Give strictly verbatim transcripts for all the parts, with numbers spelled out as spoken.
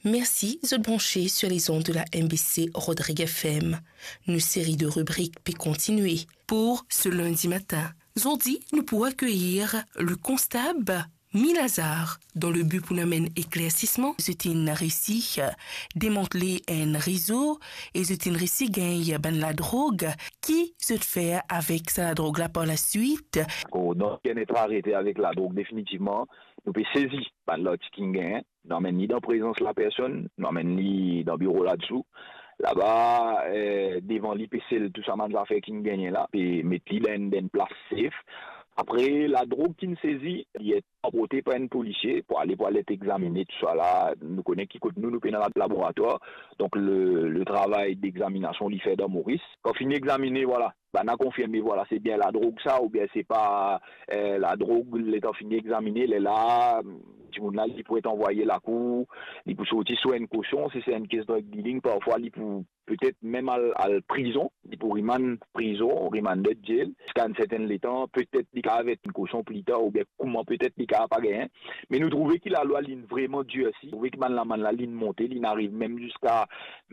Mersi zot branche sur les ondes de la M B C Rodrigues F M. Nou seri de ribrik pe kontigne pou se lindi matin. Zordi, nou pou akeyir le konstab Mi Lazar, dan le bi pou nou amenn eklersisman. Zot inn resi demantle enn rezo e zot inn resi gagn bann ladrog. Ki zot fer avek sa ladrog la par la swit? Kan nou ena arete avek ladrog, definitivman, nou pe sezi bann lartik ki'nn gagn, nou amenn li dan prezans lapersonn, nou amenn li dan biro ladsou. Laba, eh, devan li pe sel tou sa bann zafer ki'nn gagne la, pe met li dan enn, dan enn plas safe. Apre, ladrog ki'nn sezi, li et transporte par enn polisie pou ale, pou ale et egzamine, tousala. Nou kone ki kot nou, nou pena la-, laboratwar. Donk, le, le travay degzaminasion, li fer dan Moris. Kan fini egzamine, vwala, bann la konfirme, vwala, se bien ladrog sa, oubien se pa, eh, ladrog. Letan fini egzamine, lerla, dimoun la, li pou et anvwaye lakour, li pou sorti sou enn kosion, si se enn kes drug dealing, parfwa li pou petet mem al, al prizon, li pou rimann prizon, remanded jail, ziska enn sertenn letan, petet li kapav et enn kosion pli tar, oubien kouma petet li kapav pa gagn. Me nou trouve ki lalwa, li'nn vreman dirsi, trouve ki bann lamann la, li'nn monte, li'nn ariv mem ziska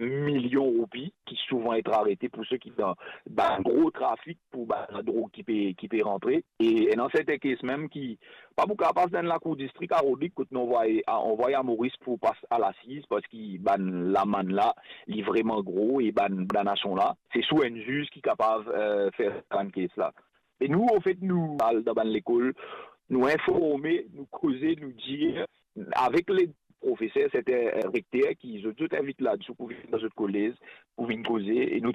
milion roupi, ki souvan et arete pou seki dan, dan gro trafik, pou bann ladrog ki pe, ki pe rantre. E ena serten kes mem ki pa pou kapav pas dan lakour distrik a Rodrig, kot nou anvway, a, anvway a Moris pou pas a lasiz, parski bann lamann la, li vreman gro, e bann kondanasion la, se sou enn ziz ki kapav, eh, fer bann kes la. E nou, anfet, nou al dan bann lekol, nou informe, nou koze, nou dir, avek le profeser, serten, eh, rekter ki zot, zot invit ladsou pou vinn dan zot kolez, pou vinn koze, e nou